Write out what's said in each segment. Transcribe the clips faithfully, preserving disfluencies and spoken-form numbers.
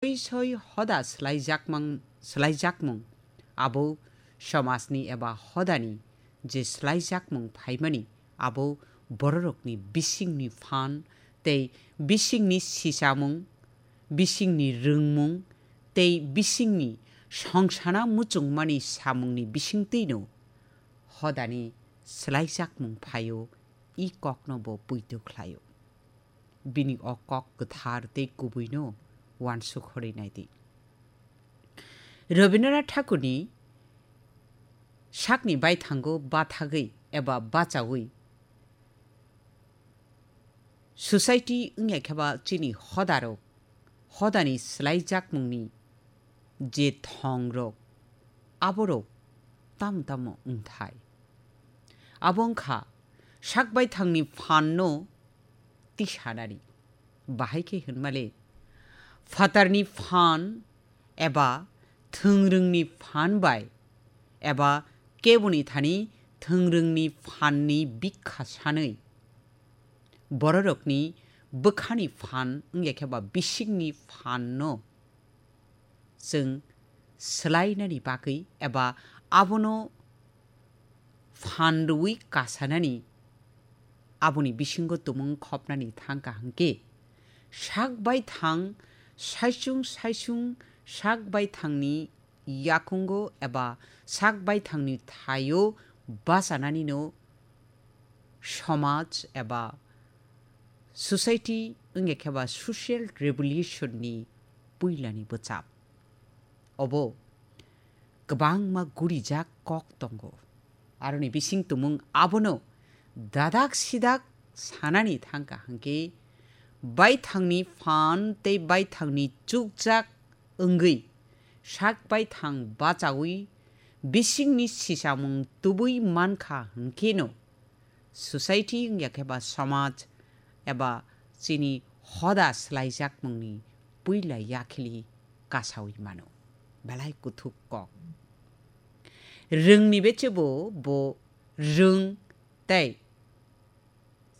soi soi hoda swlaijakmang-, swlaijakmung, abo somajni eba hodani je swlaijakmung phaimani, abo bororokni bisingni phan tei bisingni sichamung, bisingni rwngmung tei bisingni songsana muchungmani samungni bisingtwino hodani swlaijakmung phaio, i kokno bo poito khlaio. Bini o kok kwthar tei kubuino uansuk horwi nai di. Rabindranath Thakurni sakni baithango bathagwi eba bachaui society wngya khe ba chini hodarok, hodani swlaijakmungni je thongrok, aborok tamo tamo wngthai. Abo wngkha sak baithangni phanno tisanani. Bahai khe hwnmale, phatarni phan eba thwngrwngni phan bai eba keboni thani thwngrwngni phanni bikha sanwi bororokni bwkhani phan wngya khe ba bisingni phanno chwng swlainani bagwi eba abono phan rwui kasanani, aboni bisingo tumung khopnani thang kaham khe, sak baithang saichung saichung sak baithangni yakungo eba sak baithangni thaio bachananino somaj eba society wngya khe ba social revolution ni puilani bwchap. Obo kwbangma gurijak kok tongo. Aroni bising tumung abono dadak sidak sanani thang kaham khe, baithangni phan tei baithangni chukjak wngwi sak baithang bachaui bisingni sichamung tubui mankha hwnkheno, society wngya khe ba somaj eba chini hoda swlaijakmungni puila yakhili kasaui mano. Belai kuthuk kok. Rwngni bechebo bo rwng tei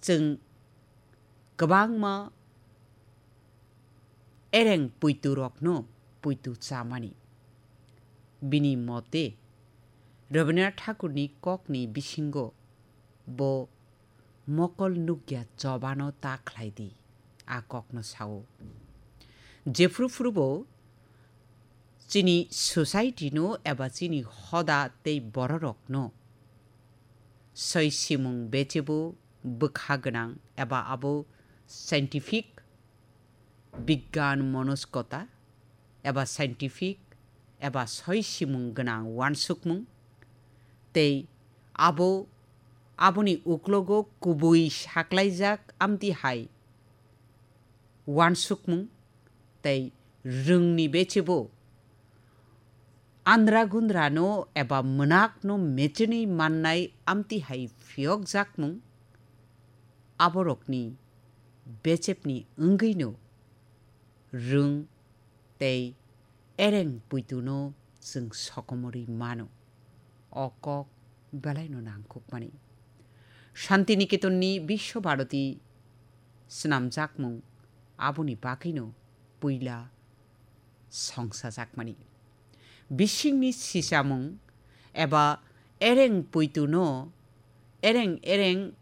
chwng kwbangma ereng puitu rokno puitu chamani. Bini mote, Rabindranath Thakurni kokni bisingo bo mokol nukya chobano ta khlai di, a kokno sao. Jephru phrubo chini society no eba chini hoda tei bororokno soi simung bechebo bwkha gwnang eba abo scientific bigyan monoskota eba scientific eba soi simung gwnang uansukmung tei abo aboni uklogo kubui saklaijak amtwi hai uansukmung tei rwngni bechebo andra gundrano eba mwnakno mechenwi mannai amtwi hai phiyokjakmung, aborokni bechepni wngwino rwng tei ereng puituno chwng sokomorwi mano. O kok belaino nangkukmani. Shantiniketonni Biswa Bharati swnamjakmung aboni bagwino puila songsajakmani. Bisingni sichamung eba ereng puituno, ereng ereng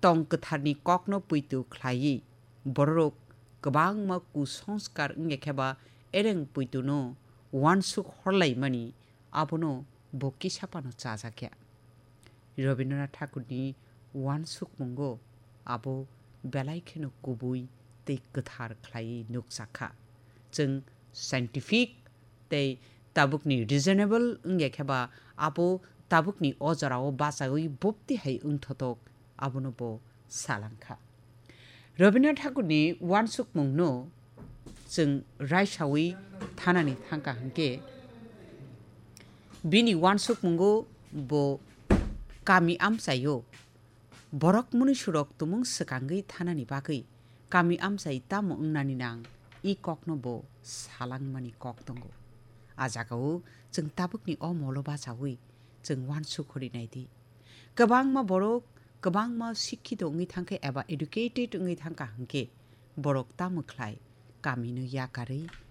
tong kwtharni kokno puitu khlaiwi bororok kwbangma kusongskar wngya khe ba ereng puituno uansuk horlaimani abono bo kisa phano chajakya. Rabindranath Thakurni uansukmungo abo belai kheno kubui tei kwthar khlaiwi nukjakha. Chwng scientific tei tabukni reasonable wngya khe ba abo tabukni o jorao bachaui bopti hai wngthotok abono bo salangkha. Rabindranath Thakurni uansukmungno chwng raisaui thanani thangkha hwnkhe, bini uansukmungo bo kami amchaio borok mwnwisurok tumung swkangwi thanani bagwi kami amchai tamo wngnani nang, i kokno bo salangmani kok tongo. A jagao chwng tabukni o molo bachaui chwng uansuk hori nai di. Kwbangma borok, kwbangma sikkito wngwi thangkhe eba educated wngwi thangkha hwnkhe, borok tamo khlai kamino yakarwi